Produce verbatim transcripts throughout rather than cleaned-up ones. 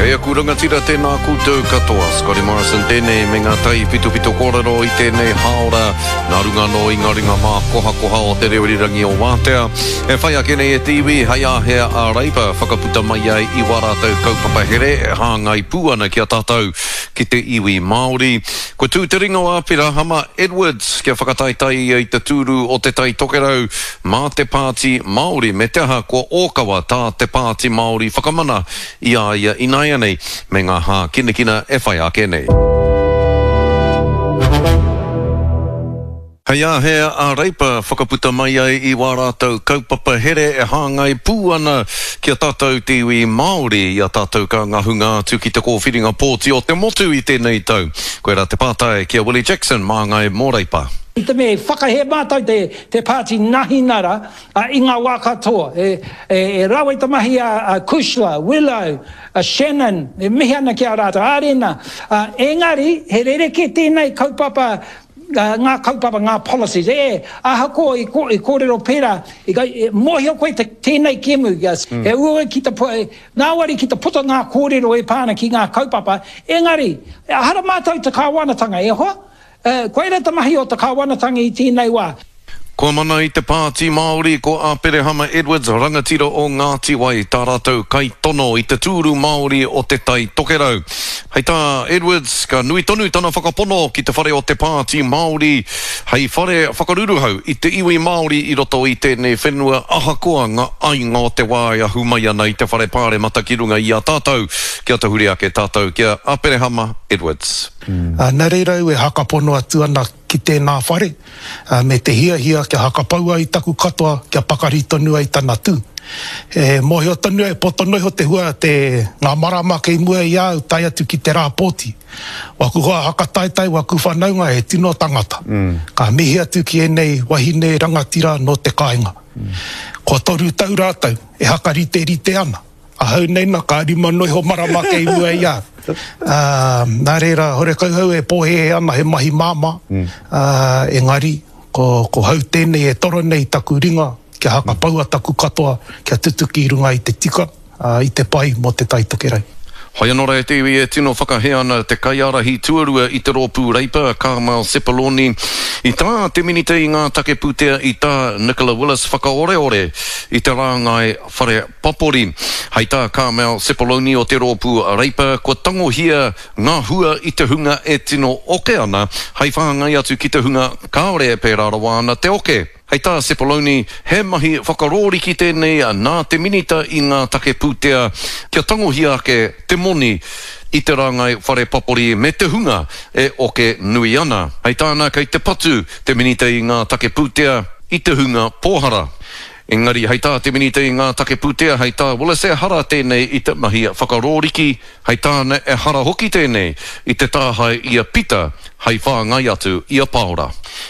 E aku rangatira, tēnā koutou katoa. Scotty Morrison tēnei me ngā tai pitopito kōrero i tēnei hāora nā runga anō i ngā ringa mākohakoha o te reo irirangi o Wātea. E whai ake nei e te iwi hei āhea a Reipa whakaputa mai ai i wā rātou kaupapa here e hāngai pū ana ki a tātou ki te iwi Māori. Kua tū te ringa o Aperahama Edwards kia whakataetae ia i te tūru o Te Tai Tokerau mā te Pāti Māori me te aha kua ōkawa tā te Pāti Māori whakamana i a ia ināianei me ngā hākinakina e whai ake nei. Hei āhea a Reipa whakaputa mai ai i wā rātou kaupapa here e hāngai pū ana ki a tātou te iwi Māori i a tātou ka ngahunga atu ki te kōwhiringa pōti o te motu i tēnei tau. Koirā te pātai ki a Willie Jackson, māngai mō Reipa. I te mea i whakahē mātou te, te pāti Nahinara i ngā wā katoa. E, e, e rawe te mahi a, a Cushla, Willow, a Shannon, e mihi ana ki a rātou, Arena. Uh, engari, he rerekē tēnei kaupapa, uh, ngā kaupapa, ngā policies. E, ahakoa i, ko, i kōrero pērā, i, i, mōhio koe te, tēnei kēmu, yes. Mm. He uaua ki te, ngāwari ki te puta ngā kōrero e pā ana ki ngā kaupapa, engari, ehara mātou te kāwanatanga, e hoa? Koira te mahi o te kāwanatanga i tēnei wā. Kua mana i te Pāti Māori ko Aperehama Edwards, rangatira o Ngāti Wai, tā rātou kaitono i te tūru Māori o Te Tai Tokerau. Hei tā Edwards, ka nui tonu tana whakapono ki te whare o te Pāti Māori hei whare whakaruruhau i te iwi Māori i roto i tēnei whenua ahakoa ngā ainga o te wā e ahu mai ana i te whare pāremata ki runga i a tātou. Kia tahuri ake tātou ki a Aperehama Edwards. Nā reira au e hakapono atu ana ki tēnā whare, me te hiahia kia hakapaua i taku katoa kia pakari tonu ai tana tū. E mōhio tonu ai, poto noa iho te hua te ngā marama kei mua i a au tae atu ki te rā pōti. Waku hoa hakataetae, waku whanaunga he tino tangata. Ka mihi atu ki ēnei wahine rangatira nō te kāinga. Kua toru tau rātou e hakariterite ana. Ahau nei na, ka rima noa iho marama kei mua i a au. Nā reira, horekau hau e pōhēhē ana he mahi māmā, engari, ko, ko hau tēnei e toro nei taku ringa kia hakapaua taku katoa kia tutuki i runga i te tika, i te pai mō Te Tai Tokerau. Hoi anō rā e te iwi e tino whakahē ana te kaiārahi tuarua i te rōpū Reipa, Carmel Sepuloni, i tā te Minita i ngā take pūtea i tā Nicola Willis whakaoreore i te rāngai whare papori. Hei tā Carmel Sepuloni o te rōpū Reipa, kua tangohia ngā hua i te hunga e tino oke ana hei whāngai atu ki te hunga kāore e pērā rawa ana te oke. Hei tā Sepuloni, he mahi whakarōriki tēnei nā te Minita i ngā take pūtea kia tangohia ake te moni i te rāngai whare papori me te hunga e oke nui ana. Hei tāna, kei te patu te Minita i ngā take pūtea i te hunga pōhara. Engari, hei tā te Minita i ngā take pūtea, hei tā Willis ehara tēnei i te mahi whakarōriki, hei tāna ehara hoki tēnei i te tāhae i a Pita hei whāngai atu i a Paora.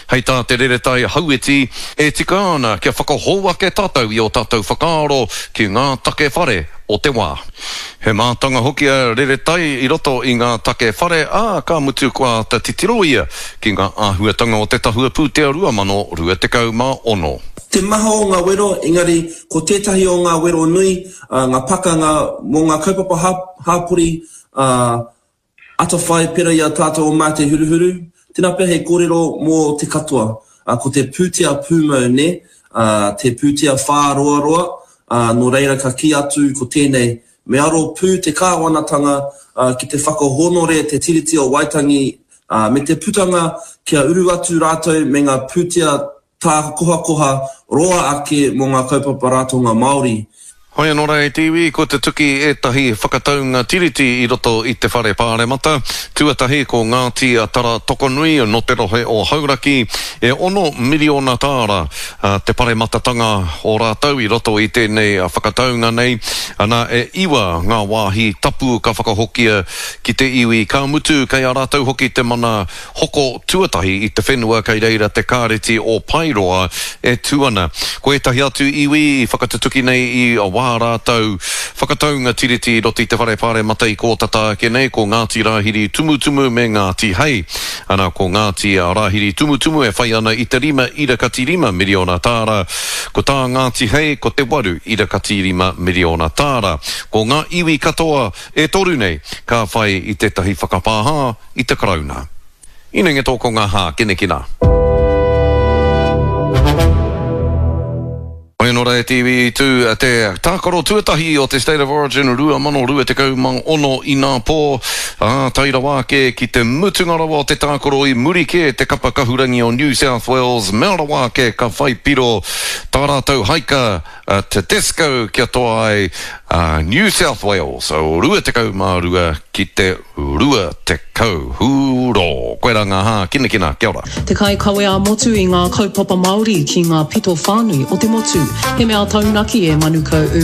Hei tā Te Reretai Hauiti, e tika ana kia whakahou ake tātou i ō tātou whakaaro ki ngā take whare o te wā. He mātanga hoki a Reretai i roto i ngā take whare, ā, ka mutu kua āta titiro ia ki ngā āhuatanga o te tahua pūtea rua mano rua tekau mā ono. Te maha o ngā wero, engari ko tētahi o ngā wero nui, ngā pakanga mō ngā kaupapa hāpori, atawhai pera i a tātou o Mā Te Huruhuru, tēnā pea he kōrero mō te katoa. Ko te pūtea pūmau, nē, te pūtea whāroaroa, nō reira ka kī atu ko tēnei, me aro pū te kāwanatanga ki te whakahōnore te Tiriti o Waitangi me te putanga kia uru atu rātou me ngā pūtea tākohakoha roa ake mō ngā kaupapa ratonga Māori. Hoi anō rā e te iwi, kua tutuki ētahi whakataunga tiriti i roto i te whare pāremata. Tuatahi ko Ngāti Tara Tokonui nō te rohe o Hauraki, e ono miriona tāra te parematatanga o rātou i roto i tēnei whakataunga nei. Ana, e iwa ngā wāhi tapu ka whakahokia ki te iwi, ka mutu kei a rātou hoki te mana hoko tuatahi i te whenua kei reira te kāreti o Paeroa e tū ana. Ko ētahi atu iwi i whakatutuki nei i wā wā rātou whakataunga tiriti i roto i te whare pāremata i kō tata ake nei, ko Ngāti Rāhiri Tumutumu me Ngāti Hei. Ana, ko Ngāti Rāhiri Tumutumu e whai ana i te rima ira kati rima miriona tāra, ko tā Ngāti Hei ko te waru ira kati rima miriona tāra. Ko ngā iwi katoa e toru nei ka whai i tētahi whakapāha i te Karauna. Inenge tō ko ngā hākinakina. Hoi anō rā e te iwi i tū te tākaro tuatahi o te State of Origin rua mano rua tekau mā ono inapō, ā, tae rawa ake ki te mutunga rawa o te tākaro i muri kē te kapa kahurangi o New South Wales mea rawa ake ka whai piro tā rātou haika a Tedesco kia toa ai a New South Wales rua tekau mā rua ki te rua tekau. Hūrō! Koirā ngā hākinakina. Kia ora. Te kaikawe ā-motu i ngā kaupapa Māori ki ngā pito whānui o te motu. He mea taunaki e Manukau Urban